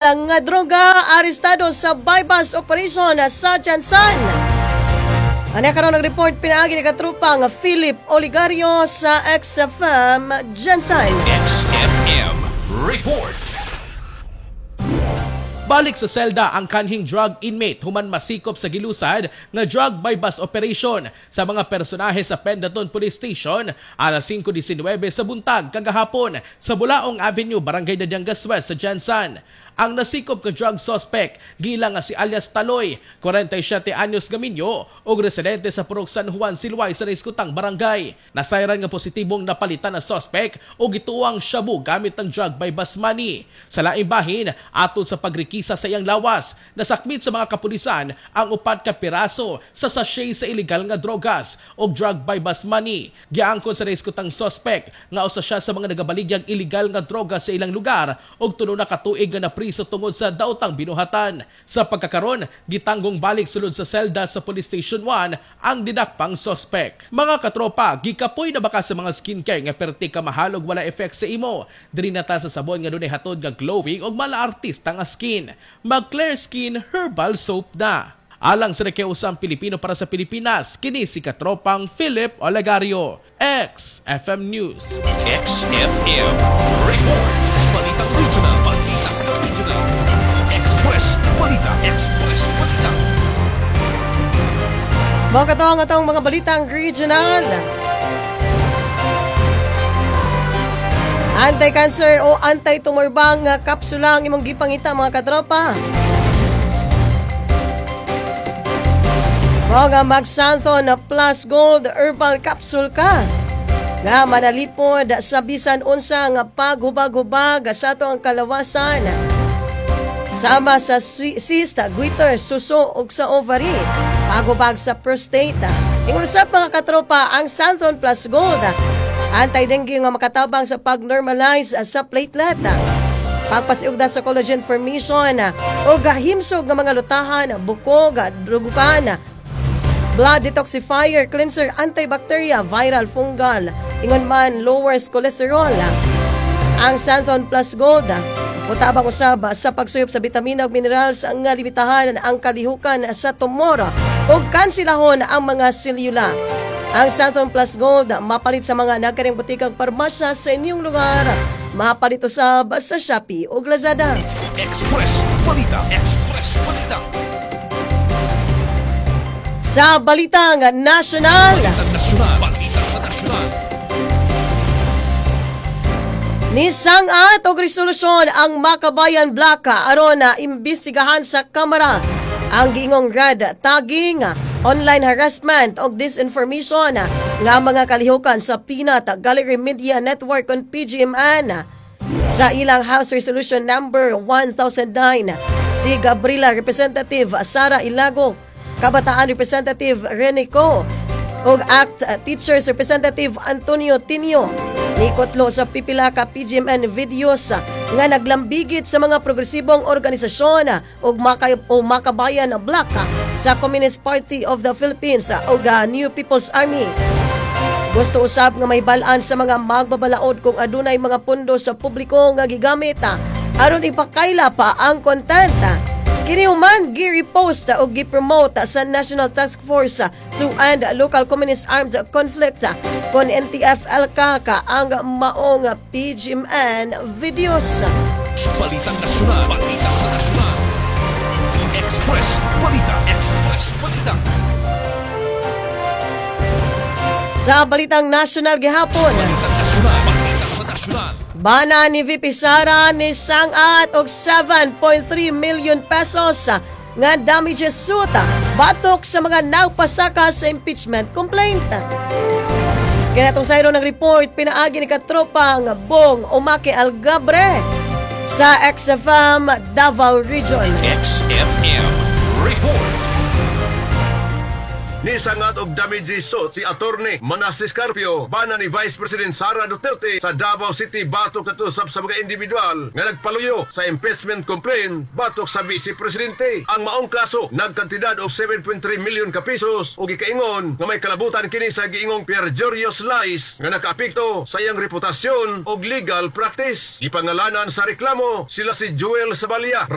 Nga droga arestado sa buy-bust operation sa GenSan. Ano karon ang report pinaagi ni katrupang Philip Oligario sa XFM GenSan. XFM Report. Balik sa selda ang kanhing drug inmate human masikop sa gilusad nga drug buy-bust operation sa mga personahe sa Pendatun Police Station alas 5:19 sa buntag kagahapon sa Bulaong Avenue, Barangay Dadiangas West sa GenSan. Ang nasikop ka drug suspect giila nga si alias Taloy, 47 anyos nga minyo ug residente sa Purok San Juan, Silway sa naiskutang barangay. Nasayran nga positibong napalitan na suspect og gituang shabu gamit ang drug buy-bust money. Sa laing bahin, atol sa pagrekisa sa iyang lawas, nasakmit sa mga kapulisan ang 4 ka piraso sa sachet sa illegal nga drogas o drug buy-bust money. Giangkon sa naiskutang suspect nga usa siya sa mga nagabaligyag illegal nga droga sa ilang lugar ug 3 na ka tuig nga napriso tungod sa daotang binuhatan. Sa pagkakaron, gitanggong balik sulod sa selda sa Police Station 1 ang didakpang suspect. Mga katropa, gikapoy na ba ka sa mga skincare nga perti ka mahal ug wala effect sa imo? Diri na ta sa sabon nga dunay hatod nga glowing ug mala-artista nga skin. Mag Clear Skin Herbal Soap na. Alang sa Usang Pilipino para sa Pilipinas, kini si katropang Philip Olegario, XFM News. XFM Report. Balitang Regional. Balita sa Regional. Express Balita. Express Balita. Mga katong atong mga balitang regional. Anti-cancer o anti-tumor bang kapsula ang imong gipangita, mga katropa? Mga Magsanthon Plus Gold Herbal Capsule ka nga manalipod sa bisan unsa nga paghubag-hubag sa ato ang kalawasan, sama sa cyst, goiter, suso ug sa ovary, paghubag sa prostate. Ingon sa mga katropa, ang Xanthone Plus Gold anti-dengue nga makatabang sa pag-normalize sa platelet, pagpasiugda sa collagen formation ug himsog nga mga lutahan, bukog, drugukan, blood detoxifier, cleanser, antibacteria, viral, fungal, ingon man lowers cholesterol. Ang Xanthone Plus Gold mutabang usab sa pagsuyop sa bitamina ug minerals nga limitahan ang kalihukan sa tumor ug kansilahon ang mga selula. Ang Xanthone Plus Gold mapalit sa mga nagkaring butikang parmasya sa inyong lugar. Mapalit usab sa Shopee ug Lazada. Express Balita. Express Balita. Sa Balitang Nasyonal, Balitang Nasyonal. Balita sa Nasyonal. Nisang-at og resolusyon ang Makabayan Bloc aron na imbestigahan sa Kamara ang giingong red tagging, online harassment og disinformation nga mga kalihukan sa Peanut Gallery Media Network on PGMN. Sa ilang House Resolution number 1009, si Gabriela Representative Sara Ilago, Kabataan Representative Rene Co, ug ACT Teachers Representative Antonio Tinio nikotlo sa pipila ka PGMN videos nga naglambigit sa mga progresibong organisasyon ug o Makabayan Bloc sa Communist Party of the Philippines ug New People's Army. Gusto usab nga may balaan sa mga magbabalaod kung adunay mga pundo sa publiko nga gigamit aron ipakaila pa ang content. Kini human gi-repost o gi-promote sa National Task Force to End Local Communist Armed Conflict kon NTF-ELCAC ang maong PGMN videos. Balitang Nasyonal. Balita sa Nasyonal. Express Balita. Express Balita. Sa Balitang Nasyonal gihapon, Balitang Nasyonal. Balita sa Nasyonal. Bana ni VP Sara ni sangat og 7.3 million pesos nga damages suit batok sa mga nagpasaka sa impeachment complaint. Kinatong sayro ng report pinaagi ni katropang Bong Omake Algabre sa XFM Davao Region. XFM Report. Nisangat og damages suit si Attorney Manases Carpio, bana ni Vice President Sara Duterte sa Davao City, batok kato sa mga individual nga nagpaluyo sa impeachment complaint batok sa Vice Presidente. Ang maong kaso nagkantidad og 7.3 million ka pesos ug gikaingon nga may kalabutan kini sa giingong perjurious lies nga nakaapekto sa iyang reputasyon og legal practice. Gipangalanan sa reklamo sila si Joel Sabalia,